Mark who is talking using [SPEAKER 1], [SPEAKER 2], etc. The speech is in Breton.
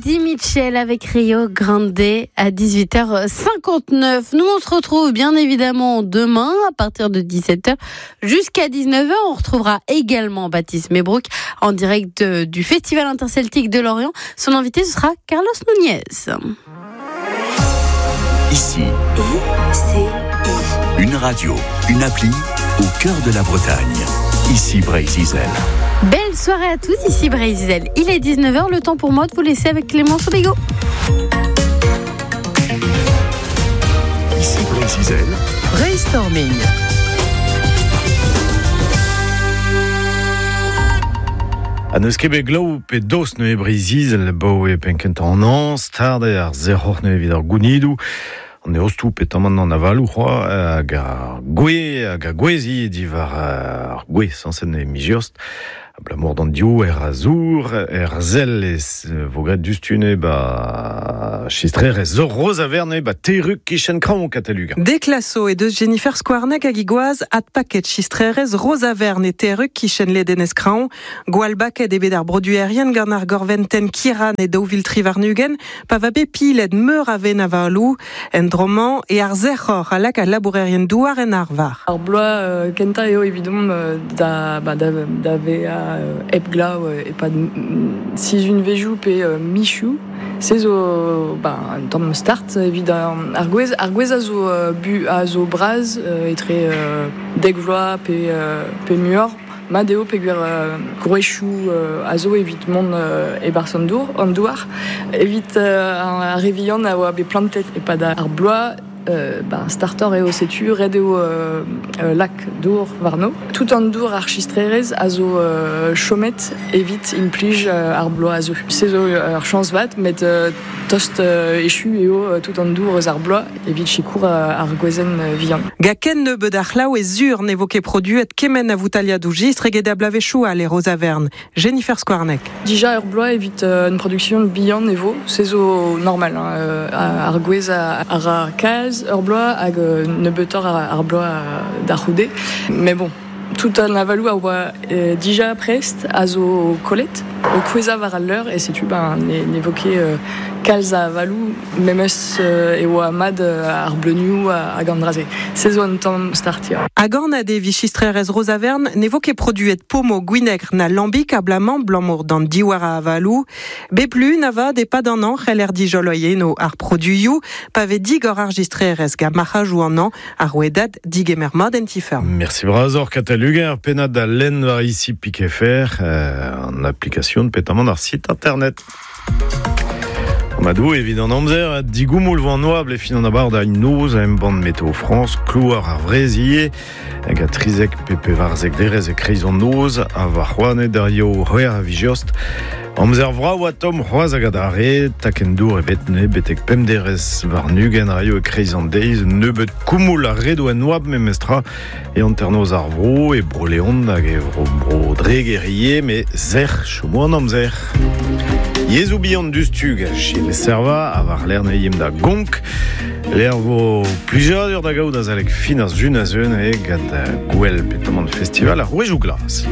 [SPEAKER 1] Eddie Mitchell avec Rio Grande à 18h59. Nous, on se retrouve bien évidemment demain à partir de 17h jusqu'à 19h. On retrouvera également Baptiste Mebrook en direct du Festival interceltique de Lorient. Son invité, ce sera Carlos Nunez.
[SPEAKER 2] Ici,
[SPEAKER 3] I, C, I.
[SPEAKER 2] Une radio, une appli au cœur de la Bretagne. Ici Breizh Izel.
[SPEAKER 1] Belle soirée à tous, ici Breizh Izel. Il est 19h, le temps pour moi de vous laisser avec Clémence Soubigou.
[SPEAKER 2] Ici Breizh Izel.
[SPEAKER 4] Brainstorming.
[SPEAKER 5] Ha n'eus ket bet glav pe dost neuze Breizh-Izel 'baoe penn-kentañ an hañv, start eo ar sec'hor neuze evit ar gounidoù. An eostoù petamant an avaloù c'hoazh hag ar gwez hag ar gwez ivez diwar ar gwez sañset neuze miz-eost. Abalamour d'an diouer a zour er sell e vo graet diouzhtu neuze 'ba chistrerezh zo Rozavern neuze 'ba Terrug kichen Kraoñ Kataluga.
[SPEAKER 4] Deklaso he deus Jennifer Skouarneg hag he gwaz adpaket chistrerezh Rozavern e Terrug kichen ledenez Kraoñ. Gwall baket eo bet ar broduerien gant ar gorventenn Kiran e 2023 pa va bet pilet meur a wenn avaloù. En dro-mañ eo ar sec'hor a lak al labourerien-douar en arvar.
[SPEAKER 6] Ar bloaz kentañ eo evidomp da, ba, da, da vezañ hep glav e-pad sizhunvezhioù pe mizioù. Se zo ba, un tamm start evit ar gwez. Ar gwez a zo, bu, a zo bras etre dek vloaz pe, pe muioc'h. Mat eo peogwir gwrezioù a zo evit mont e-barzh an dour, an douar. Evit ar re vihan a oa bet plantet e-pad ar bloaz, ben, startoc'h eo setu, ret eo lak dour warno. Tout an dour ar chistrerezh a zo chomet evit implij ar bloaz a zeu. Se zo ur chañs vat, met tost echu eo tout an dour eus ar bloaz evit sikour ar gwezenn vihan.
[SPEAKER 4] Gant ken nebeut a c'hlav eo sur ne vo ket produet kement a voutailhadoù jistr eget a bloavezhioù all e Rozavern. Jennifer Skouarneg.
[SPEAKER 6] Dija ur bloaz evit un production bihan e vo, se zo normal. Hein, ar gwez a ra kalz ur bloaz hag nebeutoc'h ar bloaz da c'houde. Mais bon, tout an avaloù a oa dija prest a zo kollet o kouezhañ war al leur e setu ben ne vo ket kalz a avaloù memes e oa mat ar bleunioù hag an dra-se. Se zo un tamm start ya.
[SPEAKER 4] Hag anat eo chistrerezh Rozavern ne vo ket produet pomo gwinegr na lambig abalamour abalamour d'an diwar a avaloù. Bep lun avat e-pad an hañv c'heller dijoloiñ eno ar produioù pa vez digor ar jistrerezh gant marc'hajoù an hañv ar rouedad digemer mat en ti-feurm.
[SPEAKER 5] Merci bras Kataluga, ar pennad da lenn war ici Piquefer, an application petamant ar site internet. Madou evit an amzer, digoumoul vo an oabl e fin an abardañ noz a embann Météo France, klouar ar Vrezier, hag a trizek pe pevarzek derez e kreiz an noz, ha war c'hoaned ar yo c'hwec'h a vijiost. Amzer vrav ha tomm c'hoazh hag adarre, takenn dour ebet ne betek pemp derez warn-ugent raio e kreiz an deiz, nebeut koumoul a redo en oabl memestra e hanternoz ar vro, e Bro-Leon hag e vro Bro-Dreger ivez, met sec'h chomo an amzer. Yezhoù bihan diouzhtu gant Gilles Servat ha war-lerc'h ne da Gonk. Lec'h vo plijadur da gaout azalek fin ar sun a zeu neuze gant gouel petamant festival ar Rouejoù Glas.